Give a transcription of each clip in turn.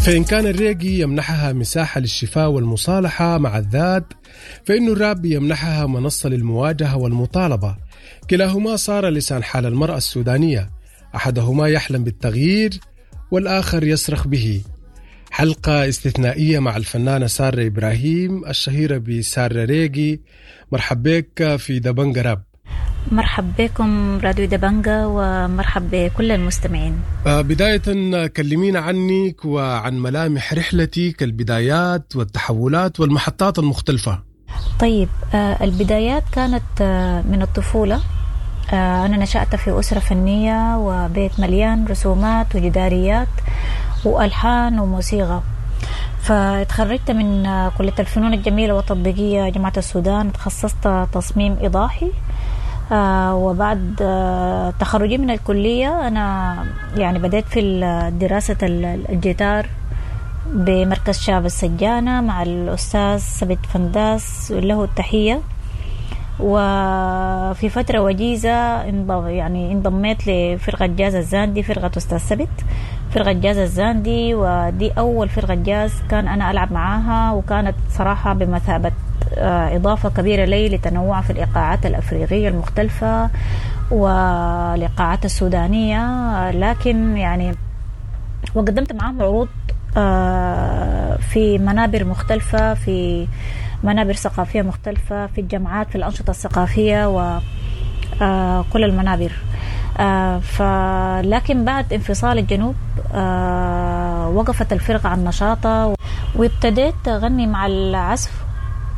فإن كان الريجي يمنحها مساحة للشفاء والمصالحة مع الذات، فإن الراب يمنحها منصة للمواجهة والمطالبة. كلاهما صار لسان حال المرأة السودانية، أحدهما يحلم بالتغيير والآخر يصرخ به. حلقة استثنائية مع الفنانة سارة إبراهيم الشهيرة بسارة ريجي. مرحب بك في دبنجة راب. مرحب بكم راديو دبنجة ومرحب بكل المستمعين. بداية كلمينا عنك وعن ملامح رحلتك، البدايات والتحولات والمحطات المختلفة. طيب، البدايات كانت من الطفولة. أنا نشأت في أسرة فنية وبيت مليان رسومات وجداريات وألحان وموسيقى. فتخرجت من كلية الفنون الجميلة والتطبيقية جامعة السودان، تخصصت تصميم إيضاحي. وبعد تخرجي من الكلية أنا يعني بدأت في دراسة الجيتار بمركز شاب السجانة مع الأستاذ سبت فنداس، له التحية. وفي فترة وجيزة يعني انضميت لفرقة جاز الزاندي، فرقة أستاذ سبت، فرقة جاز الزاندي، ودي أول فرقة جاز كان أنا ألعب معاها، وكانت صراحة بمثابة إضافة كبيرة لي لتنوع في الإيقاعات الأفريقية المختلفة والإيقاعات السودانية. لكن يعني وقدمت معاهم عروض في منابر مختلفة، في منابر ثقافية مختلفة، في الجامعات، في الأنشطة الثقافية وكل المنابر. لكن بعد انفصال الجنوب وقفت الفرقة عن نشاطها، وابتديت أغني مع العزف،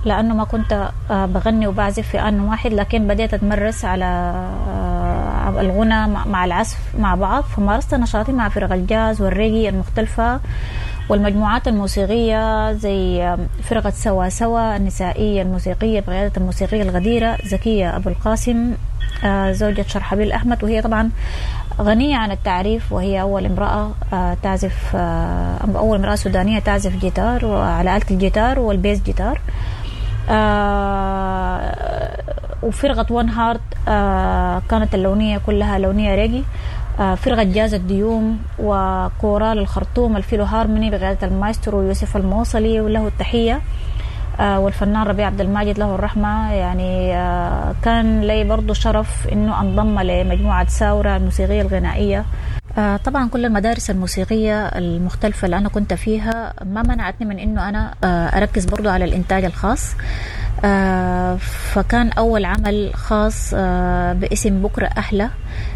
لأنه ما كنت بغني وبعزف في آن واحد، لكن بديت أتمرس على الغنى مع العزف مع بعض. فمارست نشاطي مع فرق الجاز والريجي المختلفة والمجموعات الموسيقية زي فرقة سوا سوا النسائية الموسيقية بقيادة الموسيقية الغديرة زكية أبو القاسم، زوجة شرحبيل أحمد، وهي طبعا غنية عن التعريف، وهي أول امرأة تعزف، أول امرأة سودانية تعزف جيتار وعلى آلة الجيتار وال bass guitar. وفرقة One Heart كانت اللونية كلها لونية ريجي. فرقة جاز الديوم وكورال الخرطوم الفيلو هارموني بقيادة المايسترو يوسف الموصلي وله التحية، والفنان ربيع عبد الماجد له الرحمة. يعني كان لي برضو شرف إنه أنضم لمجموعة ساورة الموسيقية الغنائية. طبعا كل المدارس الموسيقية المختلفة اللي أنا كنت فيها ما منعتني من إنه أنا أركز برضو على الإنتاج الخاص. فكان أول عمل خاص باسم بكرة أحلى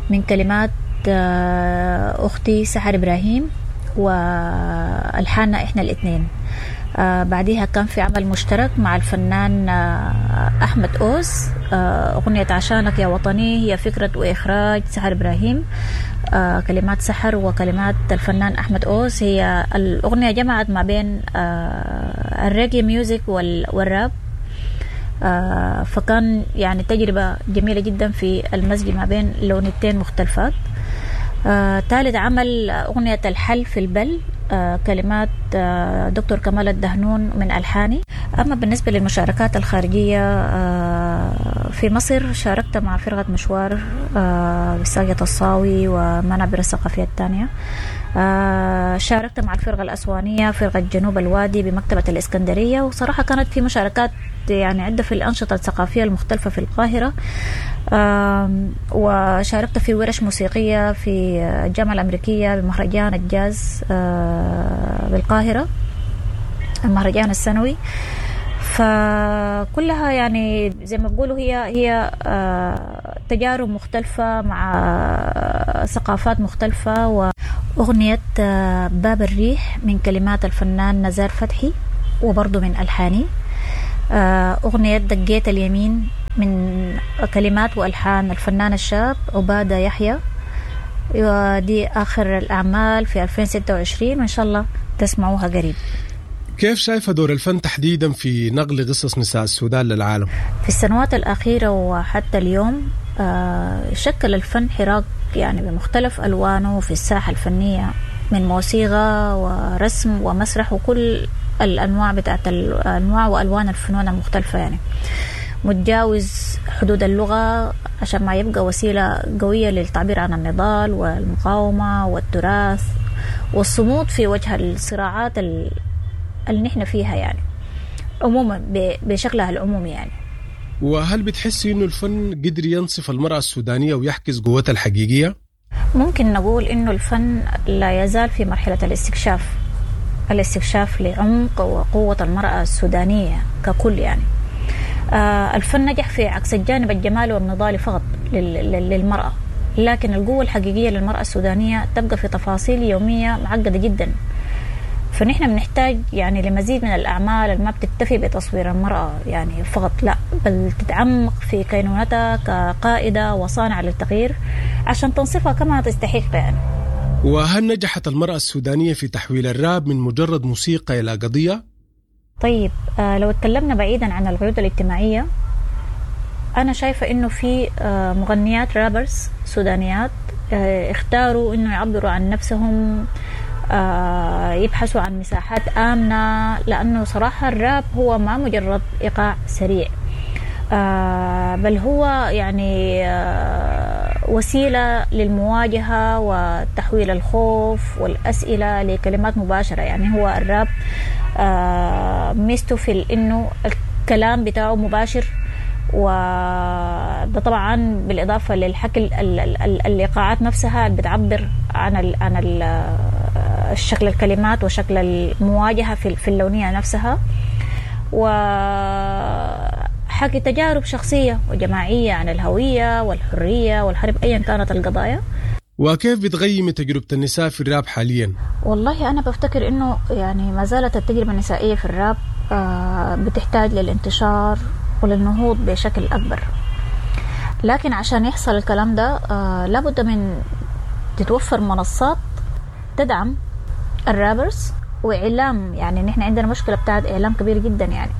من كلمات أختي سحر إبراهيم والحاننا إحنا الاثنين. بعديها كان في عمل مشترك مع الفنان أحمد أوز، أغنية عشانك يا وطني، هي فكرة وإخراج سحر إبراهيم، كلمات سحر وكلمات الفنان أحمد أوز. هي الأغنية جمعت ما بين ال reggae music والراب، فكان يعني تجربة جميلة جدا في المزج ما بين لونتين مختلفات. ثالث عمل أغنية الحل في البل، كلمات دكتور كمال الدهنون من ألحاني. أما بالنسبة للمشاركات الخارجية، في مصر شاركت مع فرقة مشوار بساقية الصاوي ومنابر الثقافية الثانية. شاركت مع الفرقة الأسوانية، فرقة جنوب الوادي بمكتبة الإسكندرية. وصراحة كانت في مشاركات يعني عدة في الأنشطة الثقافية المختلفة في القاهرة. وشاركت في ورش موسيقية في الجامعة الأمريكية بمهرجان الجاز بالقاهرة، المهرجان السنوي. فكلها يعني زي ما بقولوا هي تجارب مختلفة مع ثقافات مختلفة. وأغنية باب الريح من كلمات الفنان نزار فتحي وبرضه من ألحاني. أغنية دقيت اليمين من كلمات وألحان الفنان الشاب عبادة يحيى، ودي آخر الأعمال في 2026، وإن شاء الله تسمعوها قريب. كيف شايفة دور الفن تحديدا في نقل قصص نساء السودان للعالم؟ في السنوات الأخيرة وحتى اليوم شكل الفن حراك يعني بمختلف ألوانه في الساحة الفنية، من موسيقى ورسم ومسرح وكل الأنواع بتاعت الأنواع وألوان الفنون المختلفة، يعني متجاوز حدود اللغة عشان ما يبقى وسيلة قوية للتعبير عن النضال والمقاومة والتراث والصمود في وجه الصراعات اللي نحن فيها يعني عموما بشكلها العمومي يعني. وهل بتحسي إنه الفن قدر ينصف المرأة السودانية ويحكس قوتها الحقيقية؟ ممكن نقول إنه الفن لا يزال في مرحلة الاستكشاف لعمق وقوة المرأة السودانية ككل يعني. الفن نجح في عكس الجانب الجمالي والنضالي فقط للمرأة، لكن القوة الحقيقية للمرأة السودانية تبقى في تفاصيل يومية معقدة جدا. فنحن بنحتاج يعني لمزيد من الأعمال اللي ما بتكتفي بتصوير المرأة يعني فقط، لا بل تتعمق في كينونتها كقائدة وصانعة للتغيير عشان تنصفها كما تستحق يعني. وهل نجحت المرأة السودانية في تحويل الراب من مجرد موسيقى إلى قضية؟ طيب لو اتكلمنا بعيدا عن القيود الاجتماعية، أنا شايفة إنه في مغنيات rappers سودانيات اختاروا إنه يعبروا عن نفسهم، يبحثوا عن مساحات آمنة، لأنه صراحة الراب هو ما مجرد إيقاع سريع، بل هو يعني وسيلة للمواجهة وتحويل الخوف والأسئلة لكلمات مباشرة. يعني هو الراب ميزته في إنه الكلام بتاعه مباشر، وده طبعا بالإضافة للحكي الإيقاعات نفسها اللي بتعبر عن الشكل الكلمات وشكل المواجهة في اللونية نفسها، وحكي تجارب شخصية وجماعية عن الهوية والحرية والحرب أيا كانت القضايا. وكيف بتغيم تجربة النساء في الراب حاليا؟ والله أنا بفتكر إنه يعني ما زالت التجربة النسائية في الراب بتحتاج للانتشار وللنهوض بشكل أكبر، لكن عشان يحصل الكلام ده لابد من تتوفر منصات تدعم الرابرز وإعلام. يعني نحن عندنا مشكلة بتاعت إعلام كبير جدا يعني،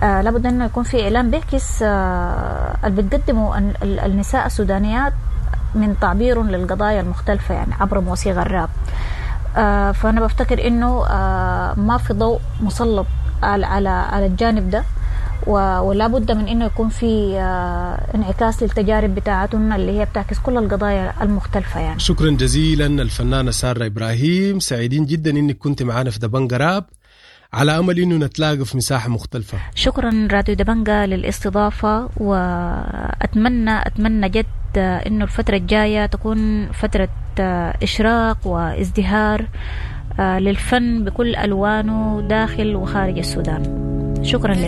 لابد أنه يكون في إعلام بيعكس اللي بتقدمه النساء السودانيات من تعبير للقضايا المختلفة يعني عبر موسيقى الراب. فأنا بفتكر إنه ما في ضوء مسلط على الجانب ده، ولا بد من إنه يكون في انعكاس للتجارب بتاعتنا اللي هي بتعكس كل القضايا المختلفة يعني. شكرا جزيلا الفنانة سارة إبراهيم، سعيدين جدا إنك كنت معنا في دبنجة راب، على أمل إنه نتلاقى في مساحة مختلفة. شكرا راديو دبنجة للاستضافة، وأتمنى أتمنى جد إنه الفترة الجاية تكون فترة إشراق وازدهار للفن بكل ألوانه داخل وخارج السودان. شكرا لك.